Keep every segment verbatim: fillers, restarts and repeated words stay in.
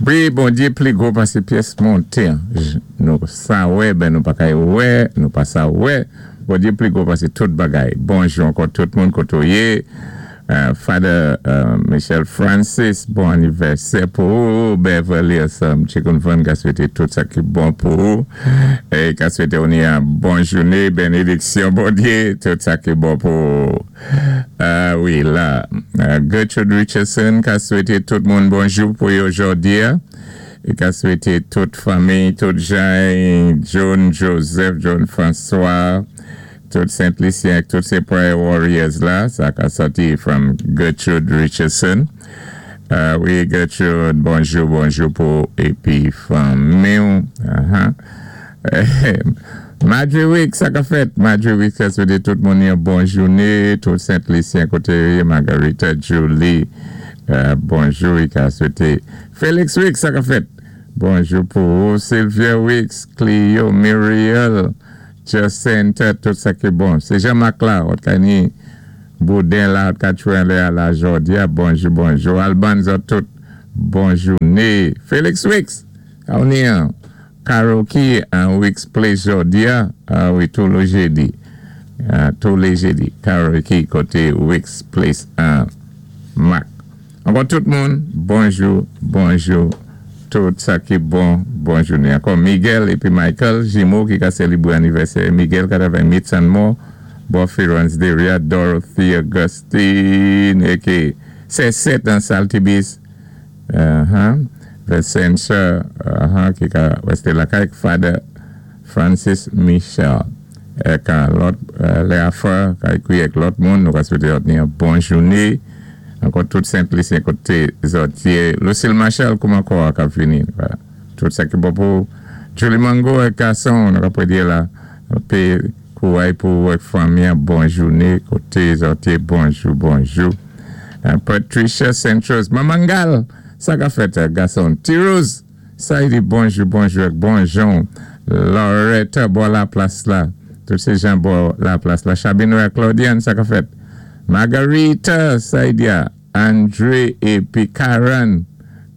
Wi, Bondyé pli gwo pasé pyès monté. Nou sa wè, ben nou pa kay wè, nou pa sa wè. Bondyé pli gwo pasé tout bagay. Bonjou ankò tout moun koté ou yé. Euh, Father euh, Michel Francis, bon anivèsè pou ou. Beverly ansanm, Chicken Fun, ka swété tout sa ki bon pou ou. É ka swété ou ni yon bon jouné, bénédiksyon, Bondyé, tout sa ki bon pou ou. Euh, wi, la, euh, Gertrude Richardson, ka swété tout moun bonjou pou yo jòdi a. É ka swété tout fanmi, tout jan, John Joseph, John François, tout Saint-Lucien, tout sé prayer warriors la, sa ka sòti from Gertrude Richardson. Euh, wi, Gertrude, bonjou, bonjou pou épi fanmi. Uh-huh. Marjorie Week, sa ka fèt. Marjorie Week, sa swété tout moun yon bon jouné, tout Saint-Lucien koté, Margarita Julie, euh, bonjou, i ka swété. Felix Week, sa ka fèt. Bonjou pou Sylvia Weeks, Cleo, Muriel, Jacinta, tout sa ki bon. Sé Jean-Marc la, ot ka ni Boudin la, ot ka tchouin lé a la jòdi a, bonjou, bonjou. Alban zòt tout, bon jouné. Felix Weeks, on ni an karaoke an Weeks Place jòdi a, ah wi, tou lé jédi. Uh, tou lé jédi, karaoke koté Weeks Place an Mac. Ankò tout moun, bonjou, bonjou, tout sa ki bon, bon jouné. Ankò Miguel épi Michael, jimo ki ka sélébwé anivèsè. Miguel ka travay Meats and More, bò Ferrance Deria, Dorothy Augustine, é sé sèt an Saltibis, uh-huh. Vicentia, uh-huh, ki ka wèsté lakay, Father Francis Michel. É ka lòt, euh, Léa Frère, ka ékwi ak lòt moun, nou ka swété ni yon bon jouné. Ankò tout Saint-Lucien koté zòt yé. Lucille Marshall, kouman kò a ka vini. Vwala. Tout sa ki bon pou Julie Mango é gason, nou ka pwé di la, pé kouway pou ak fanmi, bon jouné, koté zòt yé, bonjou, bonjou. Euh, Patricia Saint-Rose, Mamangal, sa ka fèt, gason. T-Rose, sa i di bonjou, bonjou, ak bonjon. Loretta, bò la plas la. Tout sé jan bò la plas la. Chabino ak Claudiane, sa ka fèt. Margarita, sa i di a. André épi Karen,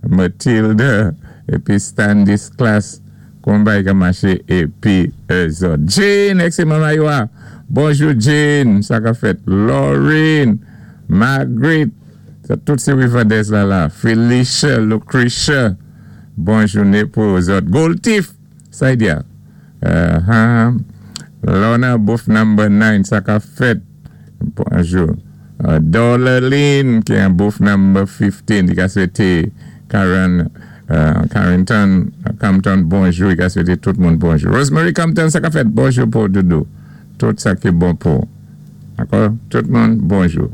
Matilda, épi Standis Class, konbay ka maché, épi zòt. Jane, ek sé mama yo a. Bonjou Jane, sa ka fèt. Laureen, Margaret, sa tout sé Riverdez la la. Felicia, Lucretia, bon jouné pou zòt. Gold Thief, sa i di a. Uh-huh. Lorna, booth number nine, sa ka fèt. Bonjou. Uh, Dollarline, ki an booth number fifteen, i ka swété Karen, uh, Carrington, Compton, bonjou, i ka swété tout moun bonjou. Rosemary Compton, sa ka fèt, bonjou pou Doudou. Tout sa ki bon pou. Dakò? Tout moun, bonjou.